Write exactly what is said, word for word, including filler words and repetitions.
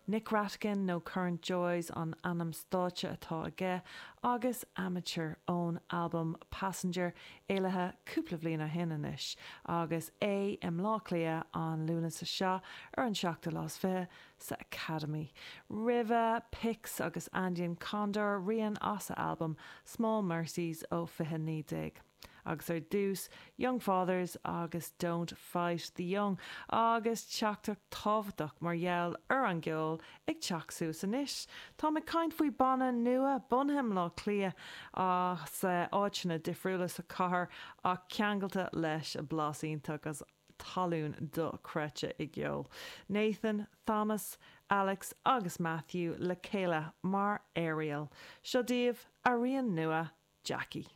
Nick Rattigan nó Current Joys an ainm stáitse atá aige agus Amateur ón albam Passenger éalaithe cúpla bliain ó shin anois agus é i mBleá Cliath an Lúnasa seo ar an seachtú lá is fiche sa Academy. Roimhe Pix agus Andean Condor rian as a albam Small Mercies ó fiche naoi déag. Agus ar dtús Young Fathers agus Don't Fight the Young agus teachtaireacht tábhachtach mar gheall ar an gceol ag teacht suas anois. Tá ag caint faoi banna nua bunaithe i mBleá Cliath as áiteanna difriúla sa chathair ach ceangailte leis a blas iontach as talún dochreidte i gceol. Nathan, Thomas, Alex agus Matthew le chéile mar Ariel. Seo daoibh a rian nua Jackie.